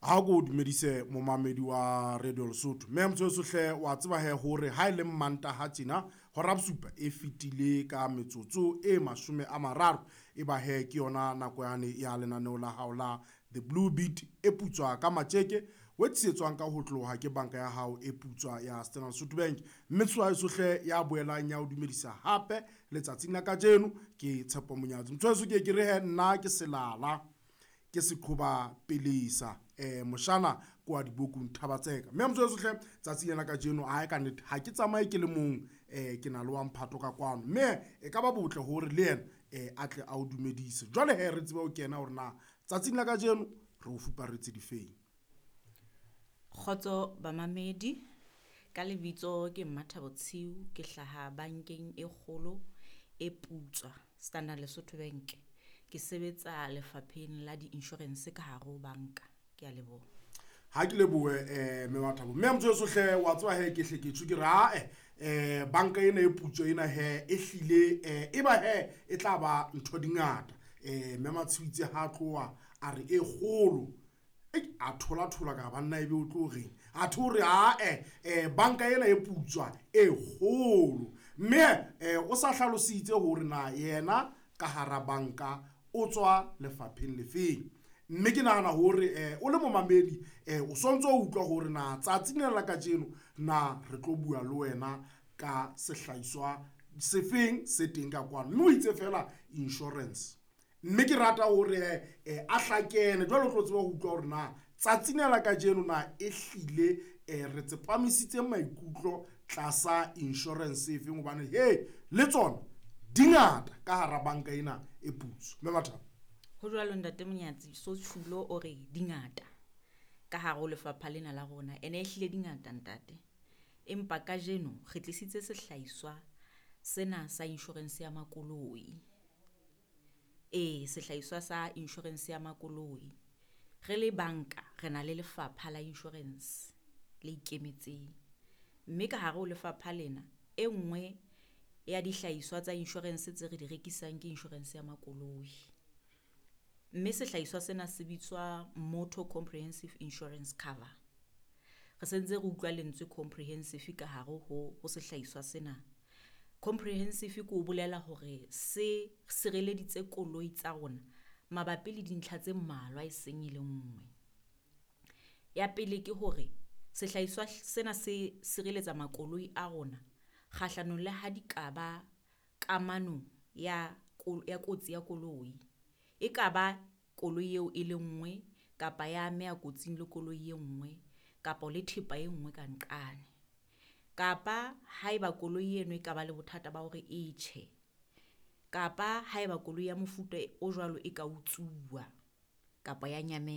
Ha ko dumedise momamedi wa Radio Lesotho. Mme motho hle wa tseba he hore ha e le Mantaha tjena hora bosupa e fetile ka metsotso e 30, e ba he ke yona nako yane ya lenaneo la hao la The Blue Beat e putswa ka matjeke, o tsetswang ka ho tloha ke banka ya hao e putswa ya Standard Lesotho Bank. Mme tshwaetso hle ya boelang ya o dumedisa hape letsatsing la kajeno ke Tshepo Monyatsi. Motho ke re he nna ke selala ke seqhoba pelesa moshana kwa dibokung Thabatseka. Mme motho hle tsatsi lena kajeno ha ka nnete ha ke tsamaye ke le mong, ke na le wa mphato ka kwano, mme e ka ba botle hore le yena a tle a o dumedise. Jwale he re tsebe ho kena hore na tsatsing la kajeno re o fuparetse difeng. Kgotso bamamedi, ka lebitso ke Mmathabo Tshiu, ke hlaha bankeng e kgolo e putswa Standard Lesotho Bank. Ke sebetsa lefapheng la di-insurance ka hare ho banka. Ke a leboha. Ha ke lebohe mme Mathabo. Mme motho hle wa tseba he ke hle ke tjho ke re ae banka ena e putswa ena he e hlile e ba he e tla ba ntho di ngata. Mme Matshiu ha tloha a re e kgolo, a thola thola ka banna ebe o tlo reng, a thore ae banka ena e putswa e kgolo. Mme o sa hlalositse hore na yena ka hara banka o tswa lefapheng lefeng. Mme ke nahana hore o le momamedi o sontso o utlwa hore na tsatsing lena la kajeno na re tlo bua le wena ka sehlahiswa sefeng se teng ka kwano. Mme o itse fela insurance. Mme ke rata hore a hlakene jwale o tlo tseba ho utlwa hore na tsatsing lena la kajeno na e hlile re tsepamisitse maikutlo tlasa insurance efeng, hobane he le tsona di ngata ka hara banka ena e putswa. Mme Mathabo. Ho jwalo ntate Monyatsi, so tjhulo o re di ngata ka hare ho lefapha lena la rona, ene e hlile di ngata ntate. Empa kajeno re tlisitse sehlahiswa sena sa insurance ya makoloi. Ee, sehlahiswa sa insurance ya makoloi. Re le banka re na le lefapha la insurance le ikemetseng, mme ka hare ho lefapha lena e nngwe ya dihlahiswa tsa insurance tse re di rekisang ke insurance ya makoloi. Mme sehlahiswa sena se bitswa Motor Comprehensive Insurance Cover. Re sentse re utlwa lentswe comprehensive ka hare ho sehlahiswa sena. Comprehensive ke o bolela hore se sireleditse koloi tsa rona mabapi le dintlha tse mmalwa e seng e le nngwe. Ya pele ke hore sehlahiswa sena se sireletsa makoloi a rona kgahlanong le ha di ka ba kamano ya kotsi ya koloi. E ka ba koloi eo e le nngwe kapa ya ameha kotsing le koloi e nngwe kapa le thepa e nngwe ka nqane. Kapa haeba koloi eno e ka ba le bothata ba hore e tjhe, kapa haeba koloi ya mofuta o jwalo e ka utsuwa kapa ya nyamela.